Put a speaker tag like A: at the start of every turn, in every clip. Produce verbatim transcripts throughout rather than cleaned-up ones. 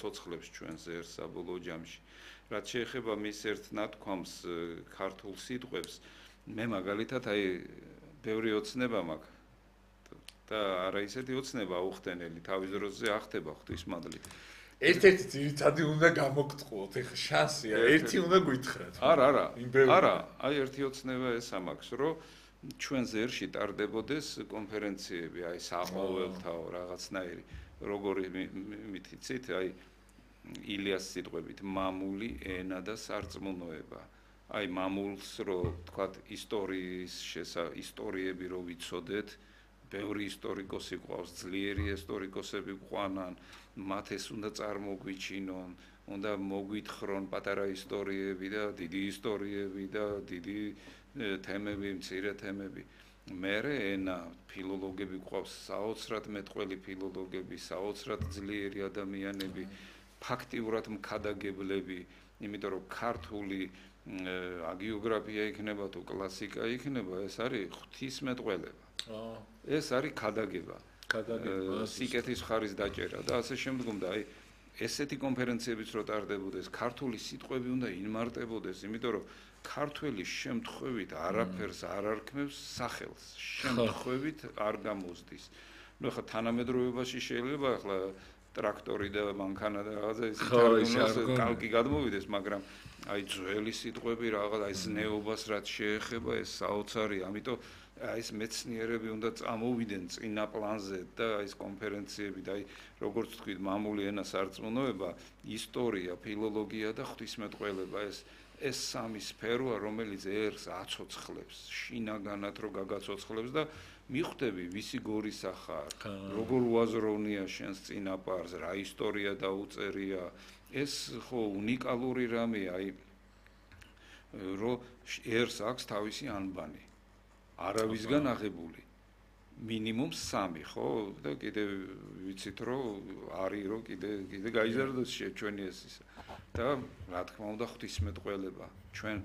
A: ცოცხლებს ჩვენს ერს საბოლოო ჯამში. რაც შეეხება მის ერთ ნათქვამს ქართულ სიტყვებს, მე მაგალითად აი ბევრი ოცნება მაქვს და არა ისეთი ოცნება აუხტენელი, თავის დროზე ახტება ღვთისმადლით.
B: ერთ-ერთი ძირითადი უნდა გამოგტყუოთ, ეხა შანსია, ერთი უნდა გვითხრათ.
A: არა, არა, არა, აი ერთი ოცნება ესა მაქვს, რომ ჩვენ ზერში ტარდებოდეს კონფერენციები, აი საყოველთაო რაღაცნაირი, როგორი მითიცით, აი ილიას სიტყვებით, მამული ენა და სარწმუნოება. აი მამულს რო თქვათ ისტორიის შესა ისტორიები რო ვიცოდეთ, ბევრი ისტორიკოსი ყავს, ძლიერი ისტორიკოსები ყванან, მათ ეს უნდა წარმოგვიჩინონ, უნდა მოგვითხრონ პატარა ისტორიები და დიდი ისტორიები და დიდი თემები, მცირე თემები. მერე ენა, ფილოლოგები ყავს, საოცრად მეტყველი ფილოლოგები, საოცრად ძლიერი ადამიანები, ფაქტიურად მქადაგებლები, იმიტომ რომ ქართული აგიოგრაფია იქნება თუ კლასიკა იქნება, ეს არის ღვთისმეტყველება. ეს არის ქადაგება. სიკეთის ხარის დაჭერა და ასე შემდგომ და აი ესეთი კონფერენციებიც რო ტარდებოდეს, ქართული სიტყვები უნდა ინმარტებოდეს, იმიტომ რომ ქართველი შემთხვევით არაფერს არ არქმევს სახელს, შემთხვევით არ გამოსდის. ნუ ხა თანამედროვეობაში შეიძლება ახლა ტრაქტორი და მანქანა და რაღაცა ის კალკი გადმოვიდეს, მაგრამ აი ძველი სიტყვები რაღაც აი ზნეობას რაც შეეხება ეს საოცარი, ამიტომ აი ეს მეცნიერები უნდა წამოვიდნენ წინა პლანზე და აი ეს კონფერენციები და აი როგორც თქვით, მამული ენა, სარწმუნოება, ისტორია, ფილოლოგია და ღვთისმეტყველება ეს ეს სამი სფეროა, რომელიც ერს აცოცხლებს, შინაგანად რო გაგაცოცხლებს და მიხვდები ვისი გორისა ხარ, როგორ უაზროვნია შენს წინაპარს, რა ისტორია დაუწერია, ეს ხო უნიკალური რამეა, აი რომ ერს აქვს თავისი ანბანი. არავისგან აღებული. მინიმუმ სამი, ხო? და კიდე ვიცით რომ არის რომ კიდე კიდე გაიზარდოს ჩვენი ეს ისა. და რა თქმა უნდა ღვთისმეტყველება. ჩვენ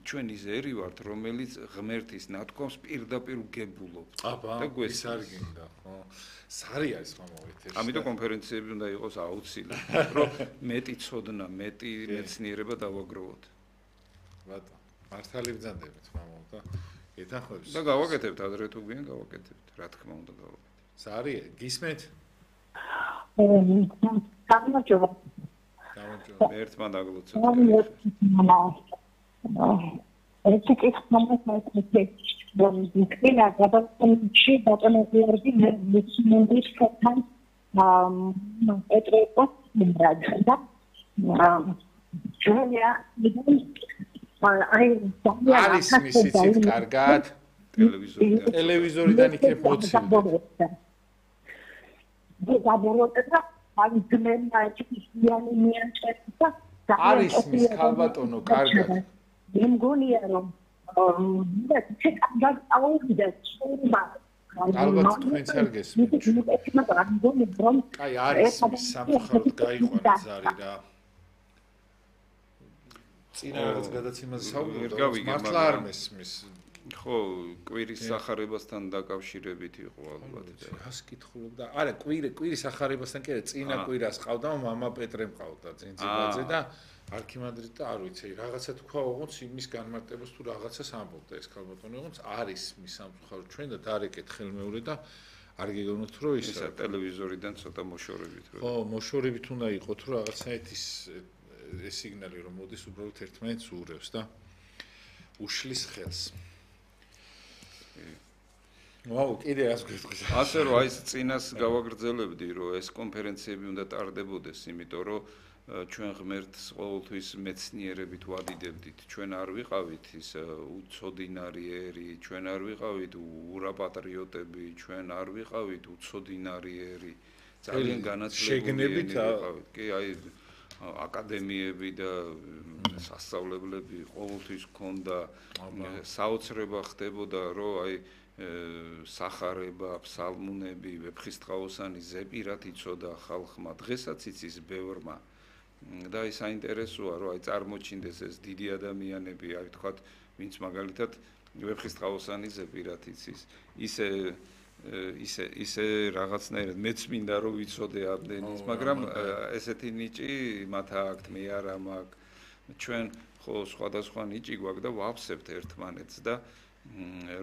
A: ჩვენ ის ერი ვართ, რომელიც ღმერთის ნათქვამს პირდაპირ ვგებულობთ.
B: და ეს არ გინდა, ხო? სარი არის მომავით ეს.
A: ამიტომ კონფერენციები უნდა იყოს აუცილებლად, რომ მეტი ცოდნა, მეტი მეცნიერება დავაგროვოთ.
B: ბატონო, მართალი ბრძანდებით, მამაო და ეთანხმებს.
A: და გავაკეთებთ, ადრე თუ გვიან გავაკეთებთ, რა თქმა უნდა გავაკეთებთ.
B: სარი, გისმენთ?
C: გამარჯობა.
B: გამარჯობა.
A: ერთმა დაგლოცოთ.
C: ერთი კითხვა მაქვს, რომ იქნება გადაწყვეტილებში ბატონები მეცნიერების ხთან პეტროპოს იმბრადა. ჯერია
B: არის მისიცით კარგად
A: ტელევიზორიდან
B: ტელევიზორიდან იქნებ მოცილდეთ.
C: დაბოროტება აი ძმენმა ისიანი მიანჭება და
B: არის მის ქალბატონო კარგად.
C: მე მგონია რომ და ცე კარგად აუვიდა სულმა.
B: ალბათ თქვენც არ გესმით. აი არის მის სამწუხაროდ გაიყვანა ზარი რა. წინა რაღაც გადაცემაზე საუბრობ, მართლა არ მესმის.
A: ხო, კვირის სახარებასთან დაკავშირებით იყო ალბათ.
B: რას კითხულობდა? არა, კვირე, კვირის სახარებასთან კი არა, წინა კვირას ყავდა, მამა პეტრე მყავდა წინწიბაძე და არქიმანდრიტ და არ ვიცი, რაღაცა თქვა ოღონდ იმის განმარტებას თუ რაღაცას ამბობდა ეს ქალბატონი, ოღონდ არის მის სამწუხაროდ ჩვენ და დარეკეთ ხელმეორე და არ გეგონოთ რომ ისა
A: ტელევიზორიდან ცოტა მოშორებით.
B: ხო, მოშორებით უნდა იყოს რომ რაღაცაით ის ეს სიგნალი რომ მოდის უბრალოდ ერთმანეთს უურევს და უშლის ხელს. ვაუ, კიდე რას გეტყვით?
A: ასე რომ აი ეს წინას გავაგრძელებდი რომ ეს კონფერენციები უნდა ტარდებოდეს, იმიტომ რომ ჩვენ ღმერთს ყოველთვის მეცნიერებით ვადიდებდით. ჩვენ არ ვიყავით ის უცოდინარიერი, ჩვენ არ ვიყავით ურაპატრიოტები, ჩვენ არ ვიყავით უცოდინარიერი. ძალიან განათლებული ვიყავით. კი, აი აკადემიები და სასწავლებლები ყოველთვის ჰქონდა საოცრება ხდებოდა რომ აი სახარება, ფსალმუნები, ვეფხისტყაოსანი ზეპირად იცოდა ხალხმა, დღესაც იცის ბევრმა. და ის საინტერესოა რომ აი წარმოჩინდეს ეს დიდი ადამიანები, აი თქვათ, ვინც მაგალითად ვეფხისტყაოსანი ზეპირად იცის. ისე ისე ისე რაღაცნაირად მეც მინდა რომ ვიცოდე ამდენის, მაგრამ ესეთი ნიჭი მათ აქვთ, მე არა მაქვს. ჩვენ ხო სხვადასხვა ნიჭი გვაქვს და ვაფსებთ ერთმანეთს და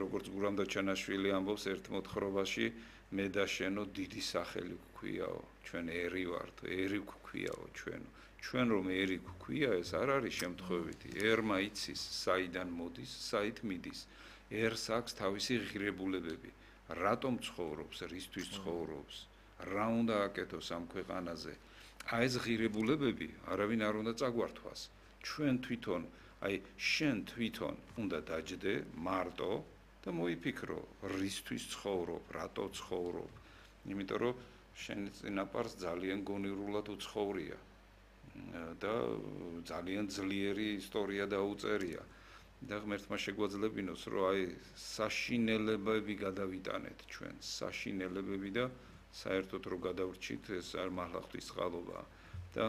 A: როგორც გურამ დაჩანაშვილი ამბობს ერთ მოთხრობაში მე და შენო დიდი სახელი გვქვიაო, ჩვენ ერი ვართ, ერი გვქვიაო ჩვენო. ჩვენ რომ ერი გვქვია, ეს არ არის შემთხვევითი. ერმა იცის, საიდან მოდის, საით მიდის. ერს აქვს თავისი ღირებულებები. რატომ ცხოვრობს, რისთვის ცხოვრობს, რა უნდა აკეთოს ამ ქვეყანაზე. აი ეს ღირებულებები არავინ არ უნდა წაგვართვას. ჩვენ თვითონ, აი შენ თვითონ უნდა დაჯდე მარტო და მოიფიქრო, რისთვის ცხოვრობ, რატო ცხოვრობ. იმიტომ რომ შენ წინაპარს ძალიან გონივრულად უცხოვრია და ძალიან ძლიერი ისტორია დაუწერია. და ღმერთმა შეგვაძლებინოს, რომ აი საშინელებები გადავიტანეთ ჩვენ, საშინელებები და საერთოდ რომ გადავრჩით, ეს არ მართლა ღვთისწყალობაა და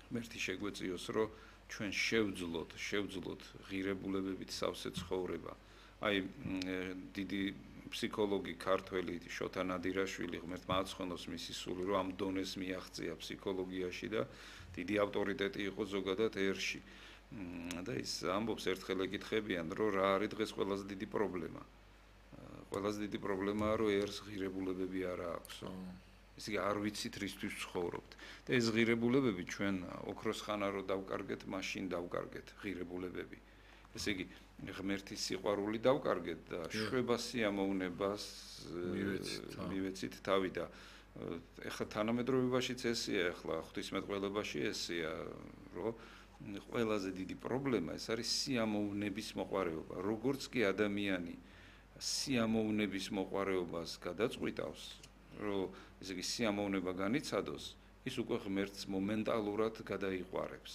A: ღმერთი შეგვეციოს, რომ ჩვენ შევძლოთ, შევძლოთ ღირებულებებით სავსე ცხოვრება. აი დიდი ფსიქოლოგი ქართველი შოთა ნადირაშვილი ღმერთმა აცხენოს მისი სული, რომ ამ დონეს მიაღწია ფსიქოლოგიაში და დიდი ავტორიტეტი იყო ზოგადად ერში. და ის ამბობს ერთხელ ეკითხებიან, რომ რა არის დღეს ყველაზე დიდი პრობლემა. ყველაზე დიდი პრობლემაა, რომ ერს ღირებულებები არ აქვს. ესე იგი არ ვიცით რისთვის ცხოვრობთ. და ეს ღირებულებები ჩვენ ოქროს ხანა რო დავკარგეთ, მაშინ დავკარგეთ ღირებულებები. ესე იგი ღმერთის სიყვარული დავკარგეთ და შვება სიამოვნებას მივეცით თავი და ეხლა თანამედროვეობაშიც ესეა, ეხლა ღვთისმეტყველებაში ესეა, რომ ყველაზე დიდი პრობლემა ეს არის სიამოვნების მოყვარეობა. როგორც კი ადამიანი სიამოვნების მოყვარეობას გადაწყვიტავს, რომ ესე იგი სიამოვნება განიცადოს, ის უკვე ღმერთს მომენტალურად გადაიყვარებს.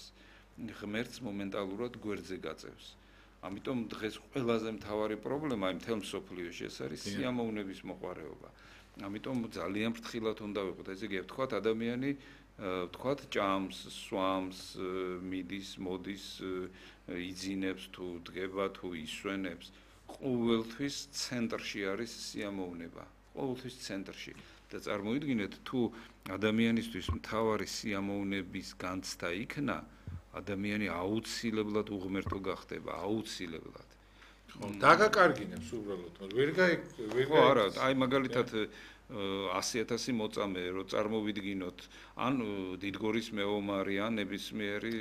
A: ღმერთს მომენტალურად გვერდზე გაწევს. ამიტომ დღეს ყველაზე მთავარი პრობლემა იმ მთელ მსოფლიოში ეს არის სიამოვნების მოყვარეობა. ამიტომ ძალიან ფრთხილად უნდა ვიყოთ. ესე იგი ვთქვათ ადამიანი ვთქვათ ჭამს, სვამს, მიდის, მოდის, იძინებს თუ დგება თუ ისვენებს, ყოველთვის ცენტრში არის სიამოვნება, ყოველთვის ცენტრში. და წარმოიდგინეთ, თუ ადამიანისთვის მთავარი სიამოვნების განცდა იქნა, ადამიანი აუცილებლად უღმერთო გახდება, აუცილებლად.
B: ხო, დაგაკარგინებს უბრალოდ, ვერ გაი ვერ
A: ხო, არა, აი მაგალითად ასი ათასი მოწამე რო წარმოვიდგინოთ, ან დიდგორის მეომარი, ან ნებისმიერი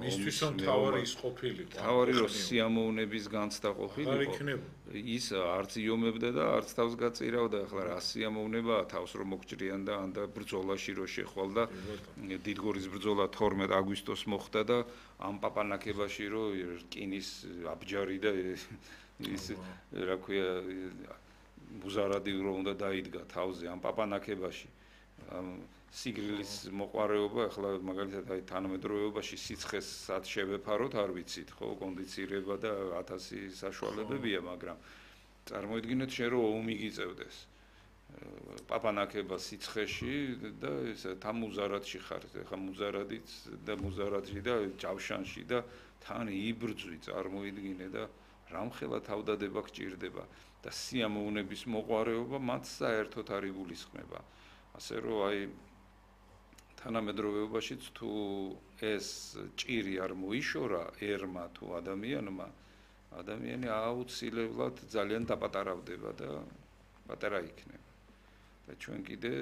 B: მისთვის მთავარი ის ყოფილიყო.
A: თავარი რო სიამოვნების განცდა ყოფილიყო, ის არც იომებდა და არც თავს გაწირავდა, ახლა რა სიამოვნებაა თავს რომ მოგჭრიან და ან და ბრძოლაში რო შეხვალ და დიდგორის ბრძოლა თორმეტ აგვისტოს მოხდა და ამ პაპანაკებაში რო რკინის აბჯარი და ის რა ქვია მუზარადი რო უნდა დაიდგა თავზე ამ პაპანაკებაში ამ სიგრილის მოყვარეობა ახლა მაგალითად აი თანამედროვეობაში სიცხესაც შევეფაროთ არ ვიცით ხო კონდიცირება და ათასი საშუალებებია მაგრამ წარმოიდგინეთ შენ რომ ომი გიწევდეს პაპანაკება სიცხეში და ეს თან მუზარადში ხარ ახლა მუზარადიც და მუზარადში და ჯავშანში და თან იბრძვი წარმოიდგინე და რამხელა თავდადება გჭირდება და სიამოვნების მოყვარეობა მათ საერთოდ არ იგულისხმება. ასე რომ აი თანამედროვეობაშიც თუ ეს ჭირი არ მოიშორა ერმა თუ ადამიანმა, ადამიანი აუცილებლად ძალიან დაპატარავდება და პატარა იქნება. და ჩვენ კიდე